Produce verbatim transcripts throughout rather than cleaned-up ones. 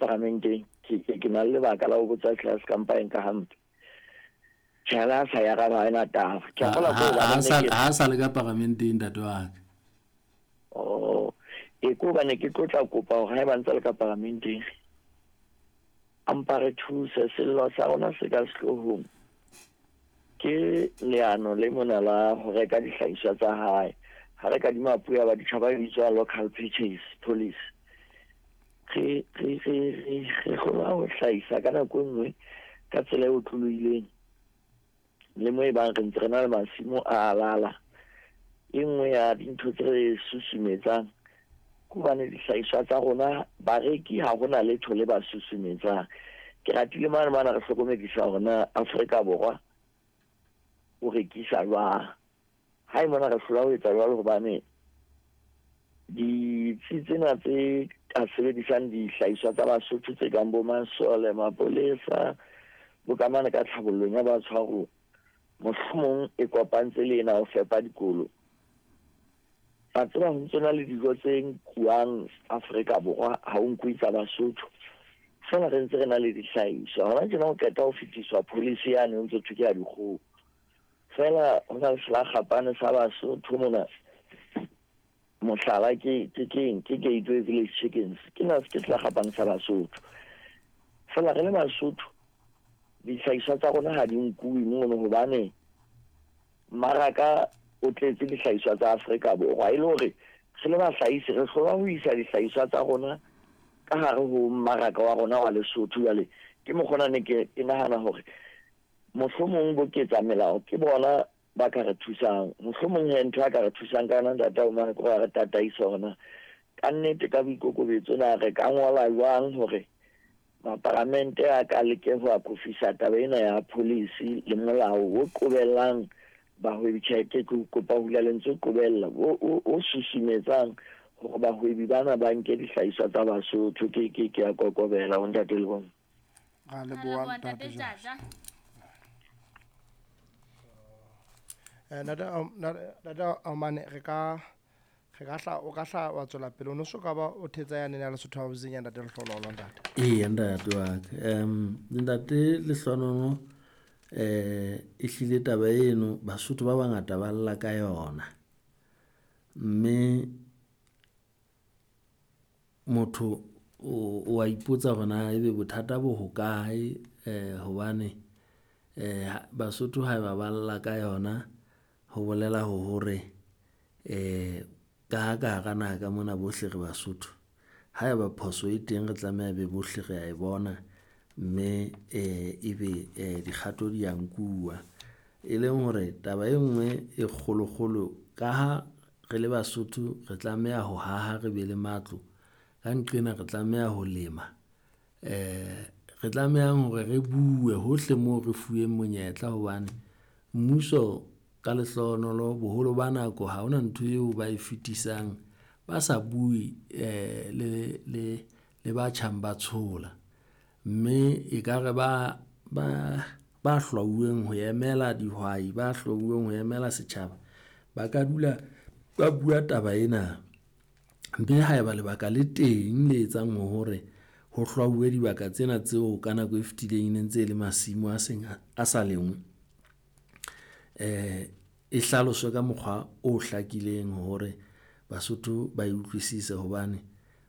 paramenteng, ke ke ke na le lebaka la ho botsa class ka mpa e nka hampe. Tjhe, le ha sa ya araba ha ena taba. Ke a kgolwa ke Ha hobane sa ne ke ha sa le ka paramenteng, ntate wa ka. Oh, e ke hobane ke tlo tla kopa hore haeba ntse le ka paramenteng, a mpa re thuse. Sello sa rona se ka sehloohong ke leano le mona la ho reka dihlahiswa tsa hae. Ha re kadima puo ya baditjhaba, e bitswa local purchase policy. Re re re re re kgona ho hlahisa ka nako e nngwe ka tsela e otlolohileng, le mo e bang re ntse re na le masimo a lala. E nngwe ya dintho tse re susumetsang ke hobane dihlahiswa tsa rona bareki ha hona letho le ba susumetsang. Ke ratile mane mane re hlokomedisa hore na Afrika Borwa o rekisa jwang. Ha e mona re hlola ho etsa jwalo hobane ditsi tsena tse ka sebedisang dihlahiswa tsa Basotho tse kang bo masole, mapolesa, bo ka mane ka tlhabollong ya batshwaruwa, mohlomong e kopantse le ena ho fepa dikolo. Wa tseba ho ntso na le dijo tse nkuwang Afrika Borwa, ha o nkuwe tsa Basotho. Feela re ntse re na le dihlahiswa. Hona tjena ho qeta ho fetiswa policy yane ho ntso thwe ke ya dikgoho. Feela ho na le selakgapane sa Basotho mona. Mohlala ke ke keng, ke Gateway Village Chickens. Ke na ke selakgapane sa Basotho. Feela re le Basotho dihlahiswa tsa rona ha di nkuwe mono hobane mmaraka o tletse dihlahiswa tsa Afrika Borwa. E le hore re le bahlahisi re hlolwa ho isa dihlahiswa tsa rona ka hare ho mmaraka wa rona wa Lesotho. Jwale ke mokgwa ona ne ke ke nahana hore mohlomong bo ketsa melao ke bona ba ka re thusang. Mohlomong he ntho a ka re thusang ka yona, ntate Omane, ke hore re tataise hore na kannete ka boikokobetso na re ka ngola jwang hore maparamente a ka leke ho akofisa taba ena ya policy le molao o qobellang bahwebi. Tjhe, ke kopa ho hula lentswe qobella, o o o susumetsang hore bahwebi bana ba nke dihlahiswa tsa Basotho. Ke ke ke a kokobela ho ntate le bona. Ra Ra leboha, leboha, ntate ntate Jaja. Jaja. Eh, ntate Om- ntate ntate Omane, re ka re ka hla o ka hla wa tswela pele, o no so ka ba o thetsa yane ya Lesotho Housing ya ntate Lehlohonolo, ntate. Eya, ntate wa ka. um ntate Lehlohonolo, eh ehlile taba eno Basotho ba bangata ba lla ka yona, mme motho o o a ipotsa hore na ebe bothata bo hokae, eh hobane eh Basotho haeba ba lla ka yona, ho bolela ho hore eh ka ha ka hara naha ka mona bohle re Basotho. Haeba phoso e teng, re tlameha be bohle re a e bona, mme eh ebe eh dikgato di a nkuwa. E leng hore taba e nngwe e kgolokgolo, ka ha re le Basotho re tlameha ho haha, re be le matlo. Ka nqena re tlameha ho lema, eh re tlamehang hore re bue hohle moo re fuweng monyetla hobane mmuso ka lehlohonolo boholo ba nako ha hona ntho eo ba e fetisang, ba sa bue eh le le le ba tjhang ba tshola. Mme ekare ba ba ba hlwauweng ho emela dihwai, ba hlwauweng ho emela setjhaba, ba ka dula ba bua taba ena. Mme haeba lebaka le teng le etsang hore ho hlwauwe dibaka tsena tseo ka nako e fetileng e ne ntse e le masimo a seng a sa lengwe, eh e hlaloswe ka mokgwa o hlakileng hore Basotho ba e utlwisise hobane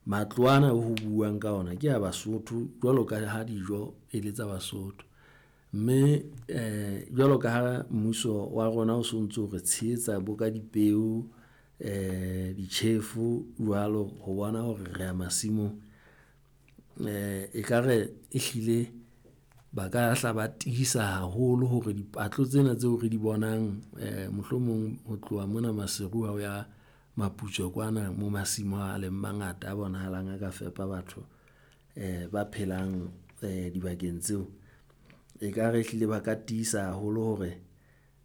matlo ana ho buuwang ka ona ke a Basotho jwalo ka ha dijo e le tsa Basotho. Mme eh jwalo ka ha mmuso wa rona o sontso re tshehetsa bo ka dipeo, eh ditjhefu jwalo ho bona hore re ya masimong, eh ekare ehlile ba ka hla ba tiisa haholo hore dipatlo tsena tseo re di bonang eh mohlomong ho tloha mona Maseru ha o ya Maputswe kwana mo masimo a leng mangata a bonahalang a ka fepa batho eh ba phelang eh dibakeng tseo. Ekare ehlile ba ka tiisa haholo hore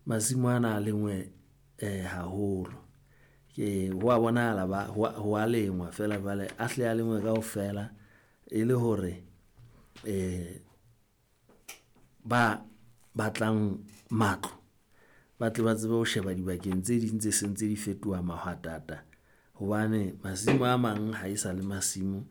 masimo ana a lengwe eh haholo. Ke ho wa bonahala ba ho wa ho wa lengwa feela jwale a hle a lengwe kaofela, e le hore eh ba batlang matlo ba tle ba tsebe ho sheba dibakeng tse ding tse seng tse di fetoha mahwatata hobane masimo a mang ha e sa le masimo.